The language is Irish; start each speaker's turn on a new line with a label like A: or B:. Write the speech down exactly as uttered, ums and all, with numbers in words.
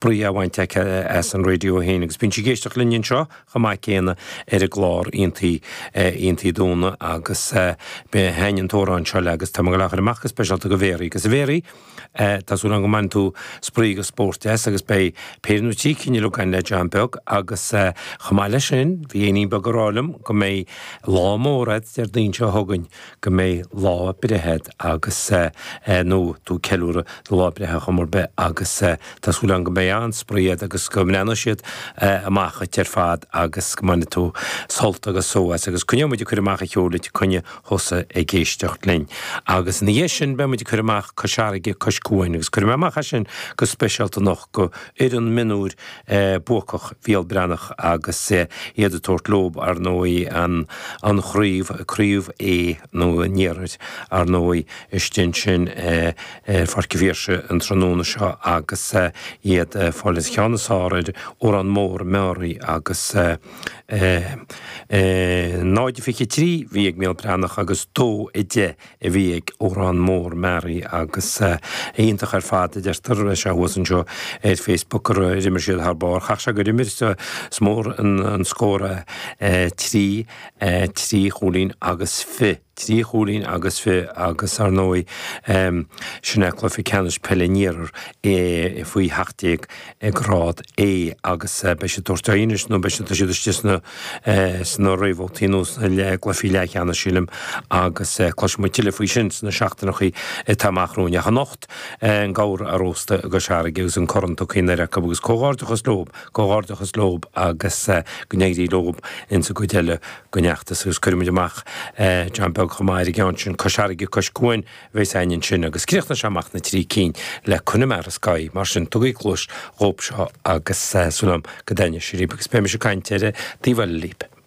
A: spraoi á bhaint aici as an raidió féin agus bíonn sí ag éisteacht linn anseo chomh maith céanna ar an gclár Aontaí Aontaí Dúna agus thaitin an t-amhrán seo léi agus tá mé ag gabháil a chur amach go speisialta do Mhéaraí agus a Mhéaraí tá súil agam go mbainfidh tú spraoi agus spórt as agus beidh péire nó trí cinn eile againn le John Beag agus chomh maith leis sin bhí éinín beag ag rá liom go mbeidh lá mór agat Déardaoin seo chugainn go mbeidh lá breithe agat agus nó tú ag ceiliúradh do lá breithe chuma ar bith agus tá súil agam go mbeidh an-spraoi agat agus go mbreathnóidh siad amach dhuit ar fad agus go mbainfidh tú sult agus só as agus coinneoidh muid ag cur amach an cheoil duit coinnigh thusa ag éisteacht linn. Agus ina dhiaidh sin beidh muid ag cur amach Cois Fharraige, Cois Cuain agus cuirfidh mé amach é sin go speisialta anocht go fhoireann mionúir buacach Bhéal Breathnach agus iad ag tabhairt leob ar ndóigh an an chraobh, craobh A nó an Iarthair ar ndóigh istigh ansin ar Pháirc an Phiarsaigh an tráthnóna seo agus iad ag fáil an cheann is fearr ar Órán Mór Meáraí agus náid a fiche trí bhí ag Béal Breathnach agus dó a deich a bhí ag Órán Mór Meáraí agus iontach ar fad a deirtear sé thuas anseo ar Facebook gur imir siad thar barr. Chaithfeadh sé gur imir is mór an scór é trí trí chúilín agus fiche. Trí chúilín agus fiche agus ar ndóigh sin é cluiche ceannais peile an Iarthair faoi sheacht déag i grád A agus beidh siad ag tabhairt aghaidh anois nó beidh siad tá siad istigh sna sna réamhbhabhtaí nó sna cluichí leathcheannais sílim agus cloisfidh muid tuilleadh faoi sin sna seachtaineacha atá amach romhainn. Ach anocht an gabhar á róstadh i gCois Fharraige agus an corn tugtha anoir acu agus comhghairdeachas leob, comhghairdeachas leob agus go n-éirí leob insa gcuid eile den fheachtas agus cuirfidh muid amach John Beag chomh maith ar an gceann sin, Cois Fharraige, Cois Cuain a bheas againn ansin agus críochnóidh sé amach na trí cinn le Connemara Sky, mar sin tugaigí cluas dhób seo agus súil agam go dtaitneoidh sé libh agus beidh mise ag caint ar an taobh eile libh.